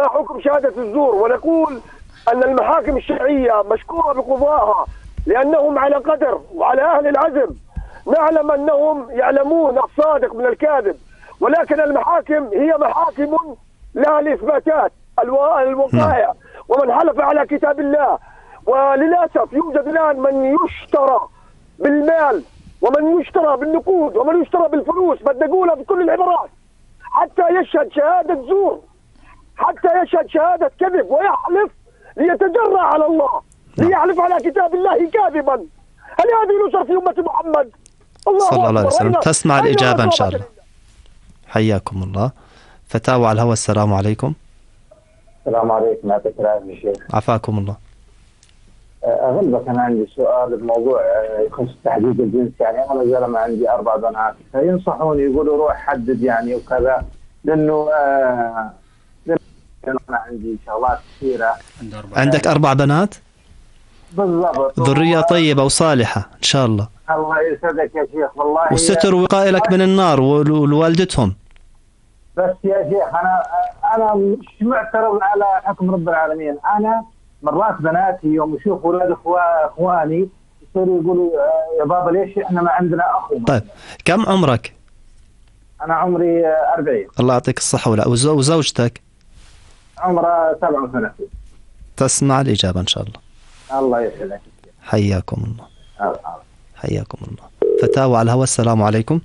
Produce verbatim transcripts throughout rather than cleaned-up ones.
ما حكم شهادة الزور؟ ونقول أن المحاكم الشرعية مشكورة بقضائها لأنهم على قدر وعلى أهل العزم. نعلم أنهم يعلمون الصادق من الكاذب، ولكن المحاكم هي محاكم لها الإثباتات الوقائع، ومن حلف على كتاب الله. وللأسف يوجد الآن من يشترى بالمال ومن يشترى بالنقود ومن يشترى بالفلوس، بدي أقولها بكل العبارات، حتى يشهد شهادة زور، حتى يشهد شهادة كذب ويحلف ليتجرأ على الله، ليحلف على كتاب الله كاذبا. هل هذه نصر في أمة محمد؟ الله صلى الله عليه وسلم. تسمع الإجابة إن شاء الله. الله. حياكم الله. فتاوى على الهواء. السلام عليكم. السلام عليكم. يعطيك العافية شيخ. عفاكم الله. أغلبك أنا عندي سؤال بموضوع يخص تحديد الجنس. يعني أنا زلمة عندي أربع بنات، فينصحوني يقولوا روح حدد يعني وكذا، لأنه آه أنا عندي شغلات كثيرة. عندك أربع بنات؟ بالضبط. ذرية طيبة وصالحة إن شاء الله. الله يسعدك يا شيخ والله. والستر وقائي لك من النار ولوالدتهم. بس يا شيخ أنا أنا مش معترض على حكم رب العالمين. أنا مرات بناتي يوم يشوفوا أولاد إخواني يصيروا يقولوا يا بابا ليش إحنا ما عندنا أخو. طيب كم عمرك؟ أنا عمري أربعين. الله يعطيك الصحة. ولا وزوجتك؟ عمرها سبعة وثلاثين. تسمع الإجابة إن شاء الله. الله يسعدك. حياكم الله. الله. حياكم الله. فتاوى على الهواء. السلام عليكم.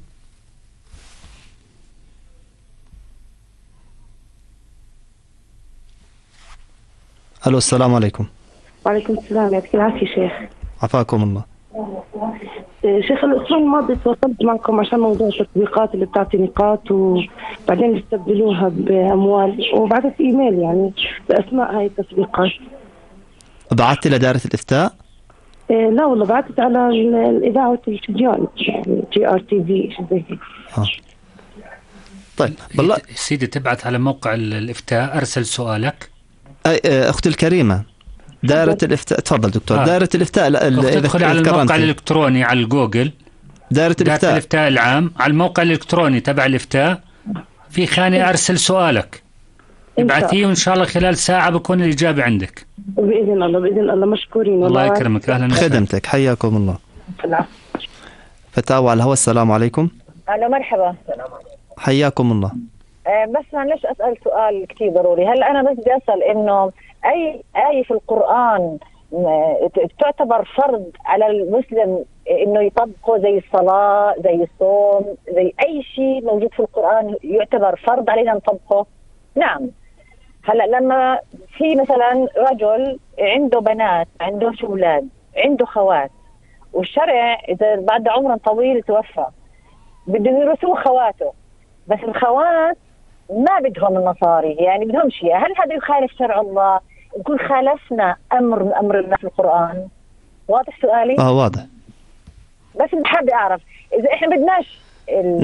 الو السلام عليكم. وعليكم السلام. يعطيك العافية شيخ. عفاكم الله. شيخ الأسبوع الماضي تواصلت معكم عشان موضوع التطبيقات اللي بتعطي نقاط وبعدين بيستبدلوها بأموال، وبعثت إيميل يعني بأسماء هاي التطبيقات. بعثت لدائرة الإفتاء؟ إيه لا والله بعثت على الإذاعة والتلفزيون يعني جي آر تي في شيء زي هيك. آه. طيب بالله سيدي تبعت على موقع الإفتاء. أرسل سؤالك. أختي الكريمة دائرة الإفتاء. تفضل دكتور. آه. دائرة الإفتاء تدخل على الموقع الإلكتروني على الجوجل دائرة الإفتاء. الإفتاء العام على الموقع الإلكتروني تبع الإفتاء في خانة أرسل سؤالك، ابعثيه وإن شاء الله خلال ساعة بكون الإجابة عندك بإذن الله. بإذن الله مشكورين. الله يكرمك. أهلا خدمتك. حياكم الله. العفو. فتاوى على الهواء. السلام عليكم. أهلا مرحبا. حياكم الله. أه بس معلش أسأل سؤال كتير ضروري. هل أنا بس بدي أسأل إنه أي آية في القرآن تعتبر فرض على المسلم إنه يطبقه زي الصلاة زي الصوم زي أي شيء موجود في القرآن يعتبر فرض علينا نطبقه؟ نعم. هلا لما في مثلا رجل عنده بنات عنده أولاد عنده خوات، والشرع إذا بعد عمر طويل توفى بده يرثوه خواته، بس الخوات ما بدهم النصاري يعني بدهم شيء. هل هذا يخالف شرع الله؟ نكون خالفنا أمر من أمر الله في القرآن؟ واضح سؤالي؟ آه واضح. بس بحب أعرف إذا إحنا بدناش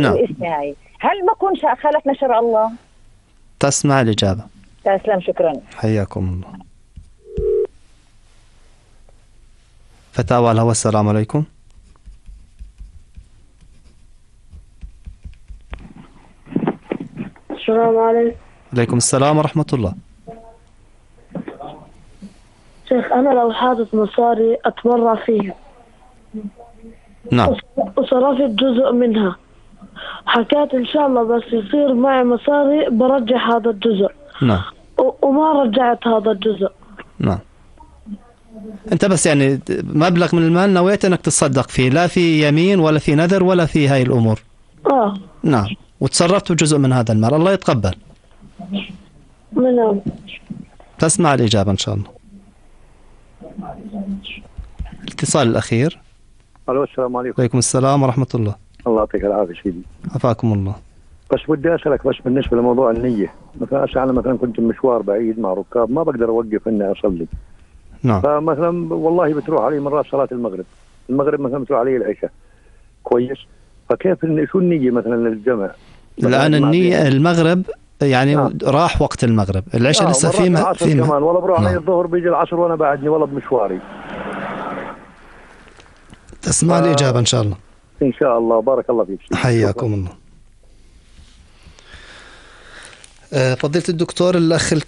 نعم. الاسم هاي هل ما كون خالفنا شرع الله؟ تسمع الإجابة. تسلم. شكرا. حياكم الله. فتاوى على الهواء. السلام عليكم. السلام عليكم. عليكم السلام ورحمة الله. شيخ أنا لو حاطط مصاري أتبرع فيها. نعم. وصرفت جزء منها، حكيت إن شاء الله بس يصير معي مصاري برجع هذا الجزء. نعم. وما رجعت هذا الجزء. نعم. أنت بس يعني مبلغ من المال نويت أنك تصدق فيه، لا في يمين ولا في نذر ولا في هاي الأمور. آه. نعم. وتصرفت جزء من هذا المال. الله يتقبل. نعم. تسمع الإجابة إن شاء الله. الاتصال الأخير. الو السلام عليكم. وعليكم السلام ورحمة الله. الله يعطيك العافية سيدي. عفاكم الله. بس بدي أسألك بس بالنسبة لموضوع النية، مثلا أنا مثلا كنت مشوار بعيد مع ركاب ما بقدر أوقف إني أصلي. نعم. فمثلا والله بتروح علي مرات صلاة المغرب، المغرب مثلا بتروح علي العشاء. كويس. فكيف شو النية مثلا للجمع؟ الآن النية المغرب يعني آه. راح وقت المغرب، العشاء آه لسه فيما فيما كمان والله بروح علي الظهر بيجي العصر وأنا بعدني والله بمشواري. تسمع آه. الإجابة إن شاء الله. إن شاء الله. بارك الله فيك. حياكم الله. فضيلة الدكتور الأخ